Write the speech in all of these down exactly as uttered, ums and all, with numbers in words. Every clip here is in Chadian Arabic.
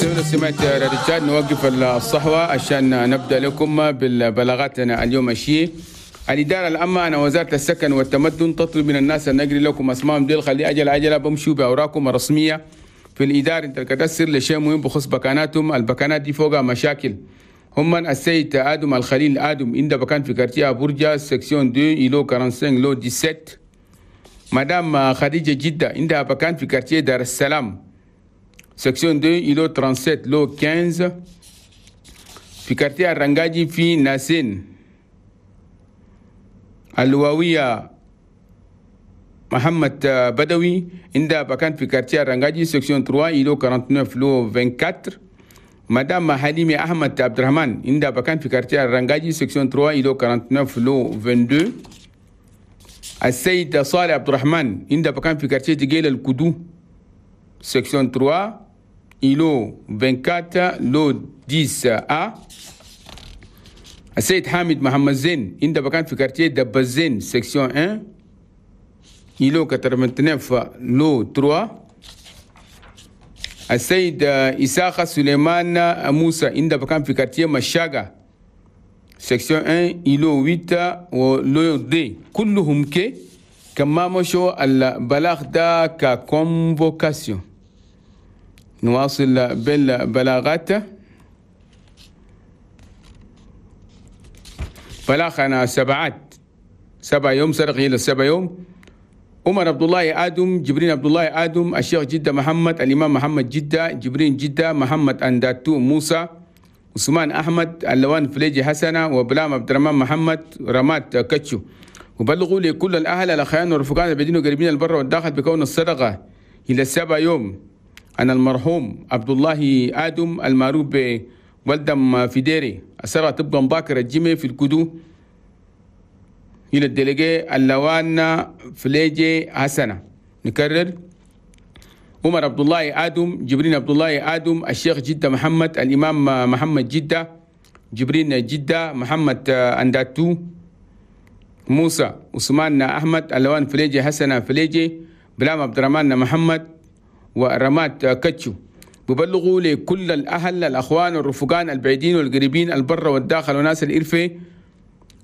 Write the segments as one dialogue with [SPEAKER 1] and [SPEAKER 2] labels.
[SPEAKER 1] سمعت رجال نوقف الصحوة عشان نبدأ لكم بالبلاغاتنا اليوم الشيء. الإدارة العامة أنا وزارة السكن والتمدن تطلب من الناس أن نجري لكم أسمائهم ديل خلي أجل عجلة بمشوا بأوراقكم الرسمية في الإدارة انت الكدسر لشيء مهم بخص بكاناتهم. البكانات دي فوقها مشاكل. هم السيد آدم الخليل آدم عند بكان في quartier برجة section اثنين îlot خمسة وأربعين lot سبعة عشر. مدام خديجة جدة عندها بكان في quartier دار السلام section اثنين îlot سبعة وثلاثين lot خمسة عشر. في quartier الرنجاجي في ناسين. اللواوية محمد بدوي عندها بكان في quartier الرنجاجي section ثلاثة îlot تسعة وأربعين lot أربعة وعشرين. مدام حليمي أحمد عبد الرحمن عندها بكان في quartier الرنجاجي section ثلاثة îlot تسعة وأربعين lot اثنين وعشرين. السيد صالح عبد الرحمن عندها بكان في quartier تجيل الكدو section ثلاثة îlot أربعة وعشرين lot عشرة أ. السيد حامد محمد زين عند بكان في quartier دبزين section واحد îlot تسعة وثمانين lot ثلاثة. السيد إساخة سليمان موسى عند بكان في quartier مشاغا section واحد îlot ثمانية و lot اثنين. كلهم كي كما مشوا البلاغ دا ك convocation. نواصل بالبلاغات. بلاغنا سبعات سبع يوم سرق إلى سبع يوم. عمر عبد الله آدم، جبرين عبد الله آدم، الشيخ جدة محمد، الإمام محمد جدة، جبرين جدة، محمد أنداتو موسى، عثمان أحمد، اللوان فليجي حسنة، وبلام عبد الرحمن محمد، رمات كتشو. وبلغوا لكل الأهل الأخيان والرفقان البعيدين وقريبين البر والداخل بكون الصدقة إلى سبع يوم أن المرحوم عبد الله آدم المعروف بولدم في ديري السرقة تبقى مباكر الجمع في الكدو إلى ال délégué اللوان فليجي حسنة. نكرر: عمر عبد الله آدم، جبرين عبد الله آدم، الشيخ جدة محمد، الإمام محمد جدة، جبرين جدة، محمد أنداتو موسى، عثمان أحمد، اللوان فليجي حسنة فليجي، بلام عبد الرحمن محمد، ورمات كتشو. ببلغوا لكل الأهل الأخوان والرفقان البعيدين والقريبين البر والداخل وناس الإرفة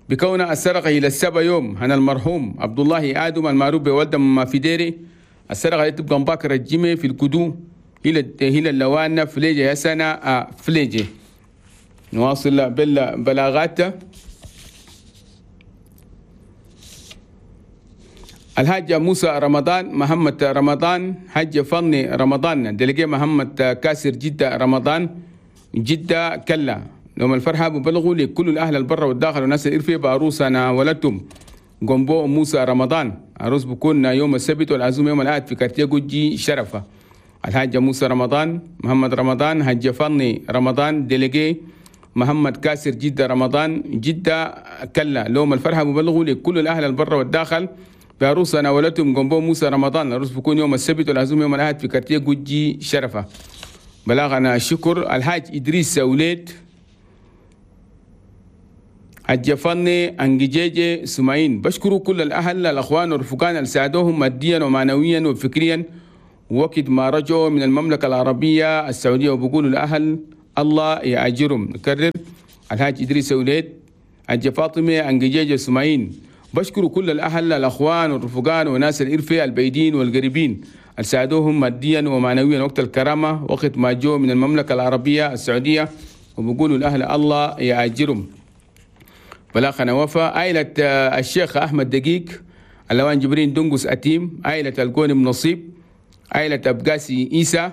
[SPEAKER 1] بكون السرقة إلى السبع يوم هنا المرحوم عبد الله آدم المعروف بولد في ديري. السرقة تبقى مباكر الجمع في الكدو إلى إلى اللوان فليجي حسنة فليجي. نواصل بالبلاغات. الحاج موسى رمضان، محمد رمضان، حاج فني رمضان، دلقي محمد كاسر جدة رمضان، جدة كلا. يوم الفرحة ببلغوا لكل الأهل البر والداخل والناس الإرفة بعروسنا ولدتم جنبو موسى رمضان. عروس بكون يوم السبت والعزومة يوم الأحد في كارتيه جوجي شرفة. الحاج موسى رمضان، محمد رمضان، حاج فني رمضان، دلقي محمد كاسر جدة رمضان، جدة كلا. يوم الفرحة ببلغوا لكل الأهل البر والداخل بعروسنا ولدتم جنبو موسى رمضان. العروس بكون يوم السبت والعزومة يوم الأحد في كارتيه جوجي شرفة. بلاغنا الشكر الحاج إدريس وليد، حاج فني أنجيجي سمعين. بشكروا كل الأهل الأخوان والرفقان اللي ساعدوهم ماديا ومعنويا وفكريا وقت ما رجعوا من المملكة العربية السعودية، وبقولوا الأهل الله يأجرهم. نكرر: الحاج إدريس وليد، حاج فاطمة أنجيجي سمعين. بشكروا كل الأهل الأخوان والرفقان وناس الإرفة البعيدين والقريبين اللي ساعدوهم ماديا ومعنويا وقت الكرامة وقت ما جو من المملكة العربية السعودية، وبقولوا الأهل الله يأجرهم. بلاغنا وفا عائلة الشيخ أحمد دقيق، اللوان جبرين دنقس أتيم، عائلة القونم نصيب، عائلة أبقاسي إيسى.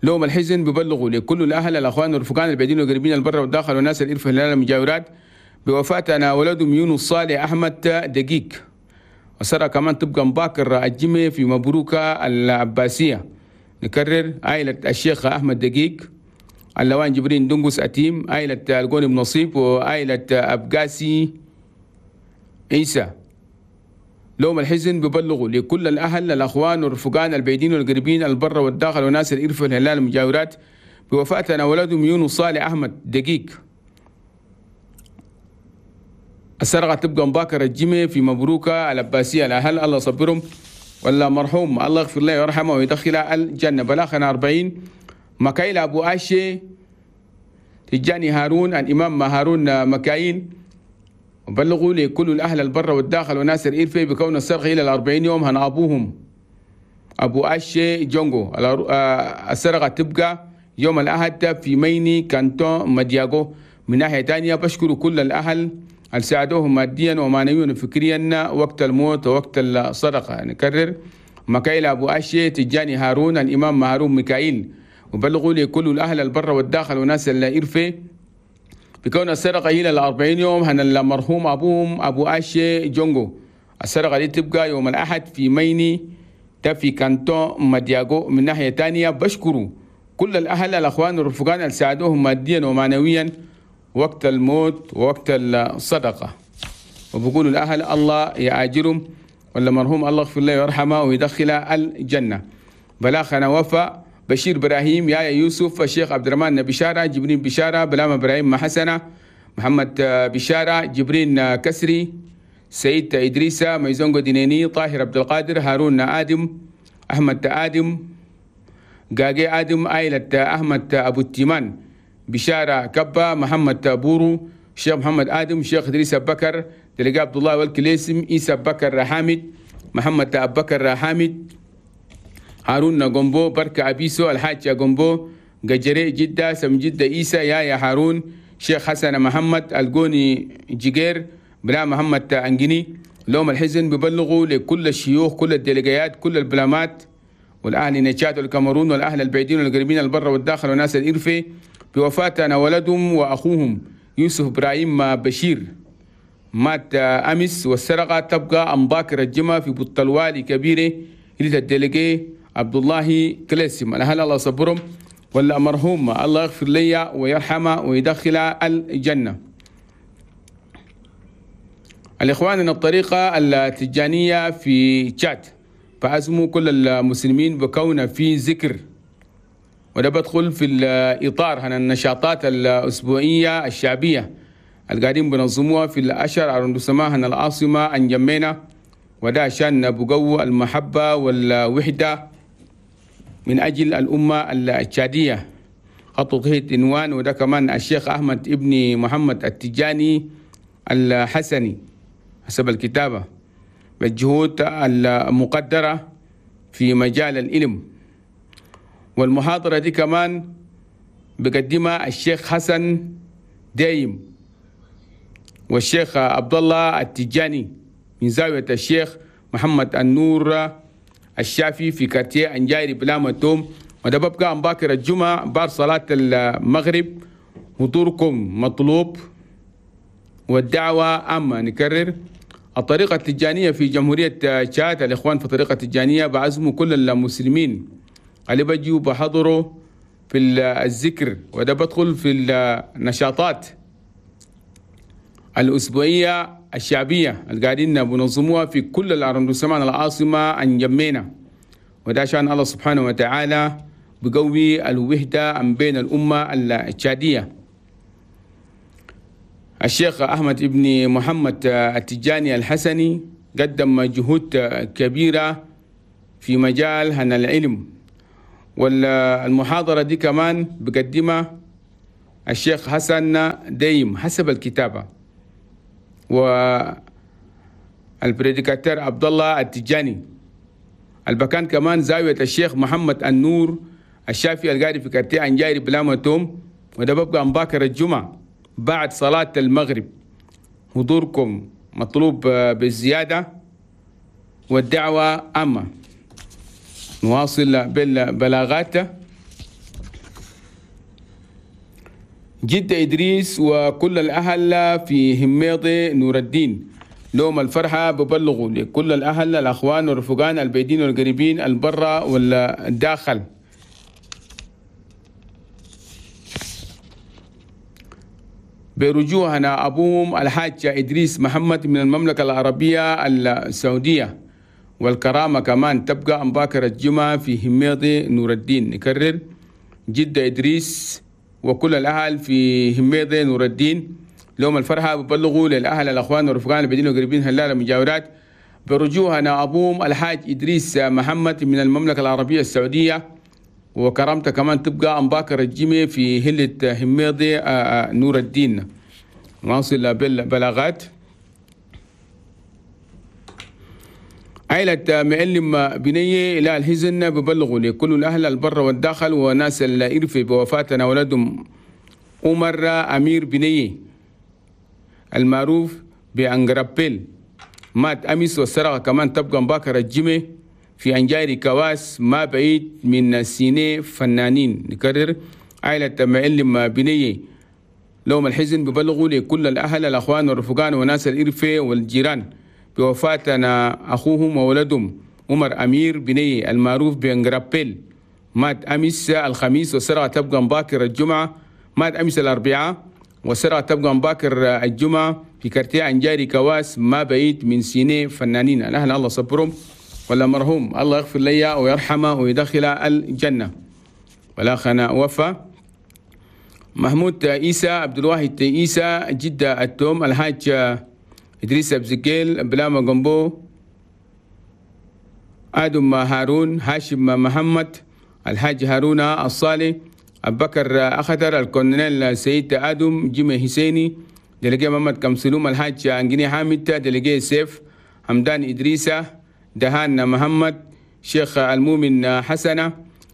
[SPEAKER 1] لوم الحزن ببلغوا لكل الأهل الأخوان والرفقان البعيدين والقريبين البر والداخل وناس الإرفة الهلال المجاورات بوفاة ولدهم يونس صالح أحمد دقيق. وسرى كمان تبقى مباكر الجمع في مبروكة العباسية. نكرر: عائلة الشيخ أحمد دقيق، اللوان جبرين دنقس أتيم، عائلة القوني نصيب، وعائلة أبقاسي عيسى. لوم الحزن ببلغوا لكل الأهل الأخوان والرفقان البعيدين والقريبين البر والداخل وناس الإرفة الهلال المجاورات بوفاة ولدهم يونس صالح أحمد دقيق. السرقة تبقى مباكر الجمع في مبروكة العباسية. الأهل الله صبرهم، ولا مرحوم الله يغفر له ويرحمه ويدخله الجنة. بلاغنا أربعين مكايل أبو أشي، تجاني هارون، الإمام هارون مكايل. وبلغوا لكل الأهل البر والداخل وناس الإرفي بكون السرقة إلى الأربعين يوم هن أبوهم أبو أشي جونجو. السرقة تبقى يوم الأحد في ميني كانتون مدياغو. من ناحية تانية بشكر كل الأهل اللي ساعدوهم ماديا ومعنويا وفكريا وقت الموت ووقت الصدقة. نكرر، مكايل أبو أشي، تجاني هارون، الإمام هارون ميكائيل. وبلغوا لكل الأهل البر والداخل وناس الإرفي بكون السرقة إلى الأربعين يوم هن المرحوم أبوهم أبو أشي جونجو. السرقة دي تبقى يوم الأحد في ميني في كانتون مدياغو. من ناحية تانية بشكروا كل الأهل الأخوان والرفقان اللي ساعدوهم ماديا ومعنويا وقت الموت ووقت الصدقة. وبقولوا الأهل الله يأجرهم، ولا مرحوم الله يغفر له ويرحمه ويدخله الجنة. بلاخنا وفاء بشير إبراهيم، يا يوسف، الشيخ عبد الرحمن بشارة، جبرين بشارة، بلام إبراهيم حسنة، محمد بشارة، جبرين كسري، سيد إدريسة، ميزونغو دينيني، طاهر عبد القادر، هارون آدم، أحمد آدم، قاقي آدم، آيلة أحمد أبو التيمان، بشارة كبا، محمد بورو، الشيخ محمد آدم، الشيخ إدريس بكر، تلقى عبد الله والكليسم، إيسى بكر حامد، محمد أبو بكر حامد، هارون غومبو، بركة أبيسو، الحاج غومبو، قجري جدة، سم جدة إيسى، يا يا هارون، شيخ حسن محمد، الجوني جيجير، بلا محمد أنجني. لوم الحزن ببلغوا لكل الشيوخ، كل الديليجيات، كل البلامات والأهل نشات والكاميرون والأهل البعيدين والقريبين البر والداخل وناس الإرفي بوفاة أنا ولدهم وأخوهم يوسف إبراهيم بشير، مات أمس. والسرقة تبقى أمباكر الجمعة في بطلوالي كبيرة إلى الديليجي عبد الله كلاسم. الأهل الله صبرهم، ولا مرحوم الله يغفر لي ويرحمه ويدخل الجنة. الإخوان من الطريقة التجانية في تشاد فأزموا كل المسلمين بكون في ذكر، وده بدخل في الإطار هنا النشاطات الأسبوعية الشعبية القاعدين بنظموها في الأشهر على هنا العاصمة أنجمينا، وده عشان بقوة المحبة والوحدة من أجل الأمة التشادية. خطوا تحت عنوان، وده كمان الشيخ أحمد ابن محمد التجاني الحسني حسب الكتابة، بالجهود المقدرة في مجال العلم. والمحاضرة دي كمان بقدمها الشيخ حسن دايم والشيخ عبد الله التجاني من زاوية الشيخ محمد النور الشافي في كارتيه أنجايري بلاما توم. وده ببقى باكر الجمعة بعد صلاة المغرب. حضوركم مطلوب والدعوة أما. نكرر، الطريقة التجانية في جمهورية تشاد، الإخوان في الطريقة التجانية بعزموا كل المسلمين اللي بيجوا بحضروا في الذكر، وده بدخل في النشاطات الأسبوعية الشعبية اللي قاعدين بنظموها في كل الأرندسمان العاصمة أنجمينا، وده عشان الله سبحانه وتعالى بقوي الوحدة بين الأمة التشادية. الشيخ أحمد ابن محمد التجاني الحسني قدم جهود كبيرة في مجال هنا العلم، والمحاضرة دي كمان بقدمها الشيخ حسن دايم حسب الكتابة، وال prédicateur عبد الله التجاني. البكان كمان زاوية الشيخ محمد النور الشافعي القاري في quartier أنجايري بلاما توم، وده ببقى مباكر الجمعة بعد صلاة المغرب. حضوركم مطلوب بالزيادة والدعوة أما. نواصل بالبلاغات. جدة إدريس وكل الأهل في هميض نور الدين لوم الفرحة ببلغوا لكل الأهل الأخوان والرفقان البيدين والقريبين البرة والداخل. برجوعنا أبوهم الحاج إدريس محمد من المملكة العربية السعودية، والكرامة كمان تبقى أمباكر الجمعة في هميض نور الدين. نكرر، جدة إدريس وكل الأهل في هميض نور الدين لهم الفرحة ببلغوا للأهل الأخوان والرفقان البدين والقريبين هلال المجاورات برجوعنا أبوهم الحاج إدريس محمد من المملكة العربية السعودية، وكرامته كمان تبقى أمباكر الجيمي في هلة هميضي نور الدين. نواصل بالبلاغات. عائلة معلم بنية إلى الحزن ببلغوا لكل الأهل البر والداخل وناس الإرفة بوفاتنا ولدهم عمر أمير بنية المعروف بأنغرابيل، مات أمس والسرقة كمان تبقى مباكر الجيمي في أنجاري كواس ما بعيد من سيني فنانين. نكرر، عائلة معلم بنية لهم الحزن ببلغوا لكل الأهل الأخوان والرفقان وناس الإرفة والجيران بوفاتنا أخوهم وولدهم عمر أمير بني المعروف بأنغرابيل، مات أمس الخميس والسرعة تبقى مباكر الجمعة. مات أمس الأربعاء والسرعة تبقى مباكر الجمعة في كارتيه أنجاري كواس ما بعيد من سيني فنانين. الأهل الله صبرهم ولا مرحوم الله يغفر لي ويرحمه ويدخل الجنة. ولا خنا وفا محمود عيسى عبد الواحد عيسى جدة التوم الحاج إدريس أبزكيل بلاما جنبو آدم هارون هاشم محمد الحاج هارون الصالح أبو بكر أخضر الكولونيل سيد آدم جيمي حسيني دلقي محمد كمسلوم الحاج أنجني حامد دلقي سيف حمدان إدريسة دهان محمد شيخ المؤمن حسنة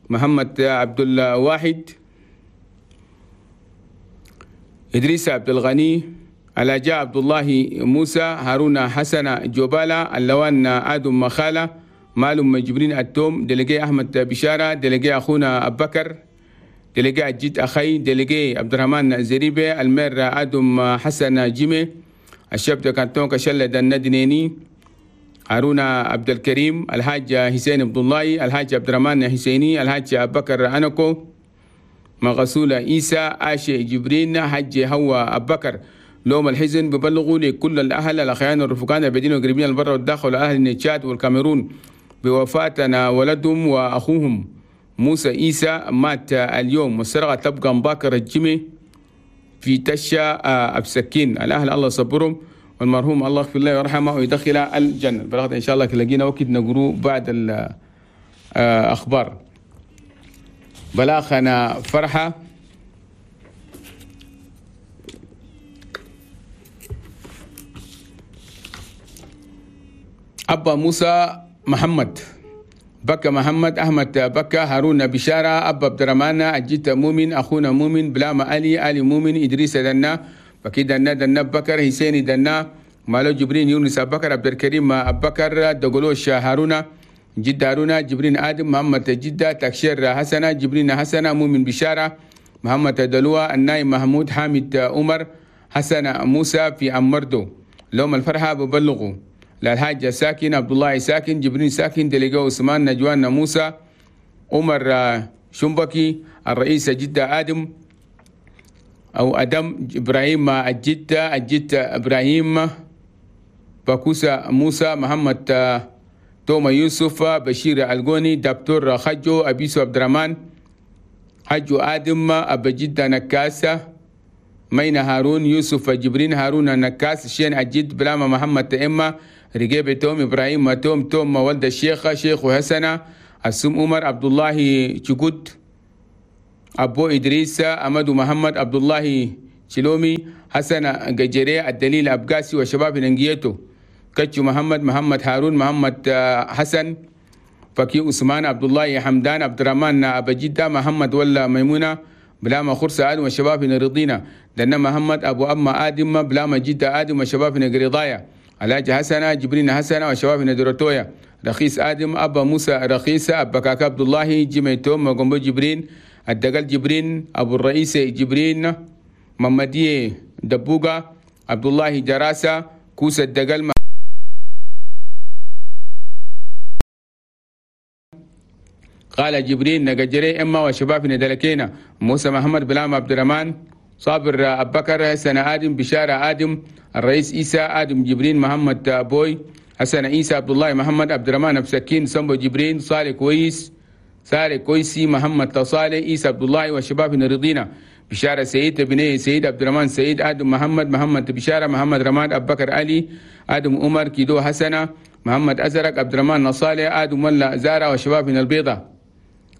[SPEAKER 1] محمد عبد الواحد إدريس عبد الغني الأجاء عبد الله موسى هارون حسن جوبالا اللوان آدم مخالة مالم جبرين التوم دلقي أحمد بشارة دلقي أخونا أبو بكر دلقي الجد أخي دلقي عبد الرحمن زريبة المير آدم حسن جيمي الشاب كانتون كشلة الندنيني هارون عبد الكريم الحاج حسين عبد الله الحاج عبد الرحمن حسيني الحاج أبو بكر أنكو مغسول عيسى آشي جبرين حج هو أبو بكر. لوم الحزن ببلغوا لكل الأهل الأخيان والرفقان البدين والقريبين البر والداخل والأهل التشاد والكاميرون بوفاتنا ولدهم وأخوهم موسى عيسى مات اليوم والسرقة تبقى مباكر الجمي في تشا أبسكين. الأهل الله صبرهم والمرحوم الله يغفر له ويرحمه ويدخل الجنة. بلغت إن شاء الله لقينا وقت نقرو بعد الأخبار. بلاغنا فرحة أبا موسى محمد بكى محمد أحمد بكى هارون بشارة أبا عبد الرحمن الجيت مؤمن أخونا مؤمن بلاما علي علي مؤمن إدريس دنا بكي دنا دنا بكر حسين دنا مالو جبرين يونس أبو بكر عبد الكريم أبو بكر دقلوش هارون جد هارون جبرين آدم محمد جدة تكشير حسنة جبرين حسنة مؤمن بشارة محمد دلوة النايم محمود حامد عمر حسن موسى في أمردو. لهم الفرحة ببلغوا للحاج ساكن عبد الله ساكن جبرين ساكن دليقو عثمان نجوان موسى عمر شنبكي الرئيس جدة آدم أو أدم إبراهيم الجدة الجدة إبراهيم باكوسا موسى محمد توما يوسف بشير الغوني دكتور خجو أبيسو عبد الرحمن حجو آدم أبا جدة نكاسة مينا هارون يوسف جبرين هارون نكاس شين الجد بلاما محمد تأمة رجيب توم إبراهيم توم توم ولد الشيخ شيخ حسنة السم عمر عبد الله شكوت أبو إدريس أمد محمد عبد الله شلومي حسن ججري الدليل أبقاسي وشباب ننجيتو كتشو محمد محمد هارون محمد حسن فكي عثمان عبد الله حمدان عبد الرحمن أبا جدة محمد ولا ميمونة بلاما خرسة آدم وشباب رضينا دنا محمد أبو أما آدم بلاما جدة آدم وشباب قريضايا علاج حسنة جبرين حسنة وشباب دروتويا رخيص آدم أبا موسى رخيصة أبا كاكا عبد الله جيمي توم وقنبو جبرين الدقل جبرين أبو الرئيس جبرين ممدي دبوغا عبد الله جراسة كوسة الدقل قال جبرين نجري إما وشباب ندلكينا موسى محمد بلام عبد الرحمن صابر أبو بكر حسن آدم بشارة آدم الرئيس عيسى آدم جبرين محمد بوي حسن عيسى عبد الله محمد عبد الرحمن أبسكين سمبو جبرين صالح كويس صالح كويسي محمد تصالح عيسى عبد الله وشباب رضينا بشارة سيد بني سيد عبد الرحمن سيد آدم محمد محمد بشارة محمد رماد أبو بكر علي آدم عمر كيدو حسنة محمد أزرق عبد الرحمن نصالح آدم ولا زارة وشباب من البيضة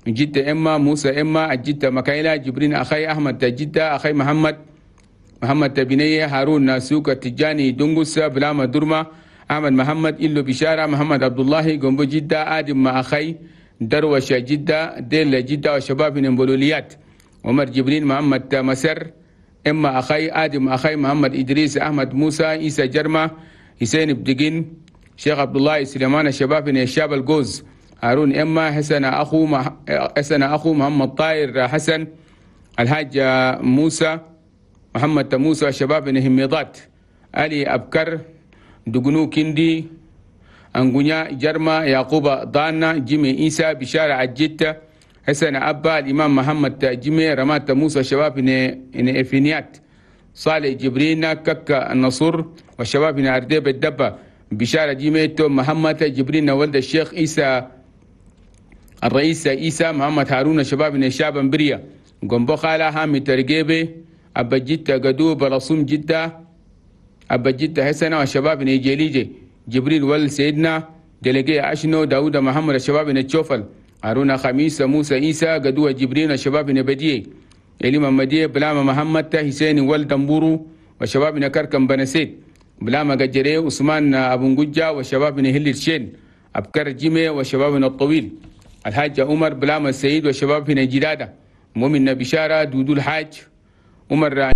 [SPEAKER 1] جدة إما موسى إما الجدة مكايلة جبرين أخي أحمد جدة أخي محمد محمد تبنية هارون ناسوك التجاني دنقس بلاما درما أحمد محمد إلو بشارة محمد عبد الله جنبو جدة آدم مع أخي دروش جدة ديل جدة وشباب من بولوليات عمر جبرين محمد مسر إما أخي آدم أخي محمد إدريس أحمد موسى إيسى جرمة حسين بدقين شيخ عبد الله سليمان الشباب من الشاب الجوز هارون إما حسن أخو مح... حسن أخو محمد طاير حسن الحاج موسى محمد موسى شباب من هميضات علي أبكر دقنو كندي أنغونيا جرما يعقوب ضانا جيمي إيسى بشارة عجيتة حسن أبا الإمام محمد جيمي رمات موسى شباب من إفينيات صالح جبرين كك النصر والشباب من أرديب الدبة بشارة جيمي محمد جبرين ولد الشيخ إيسى الرئيس إيسى محمد هارون شباب من الشعب بريا جنبو خالة هامي ترقيبي أبا جدة قدو برسوم جدة أبا جدة حسن والشباب من جيليجي جبريل ول سيدنا دلقي أشنو داود محمد الشباب من الشوفل هارون خميس موسى إيسى قدوة جبريل الشباب من بديه إلي مديه بلاما محمد حسين ول دمبورو وشباب من كركم بنسيت بلاما قجري عثمان أبو نجا وشباب من هل الشين أبكر جيمي وشباب من الطويل الحاج عمر بلاما السيد وشباب من جلادة مؤمن بشارة دودو الحاج عمر.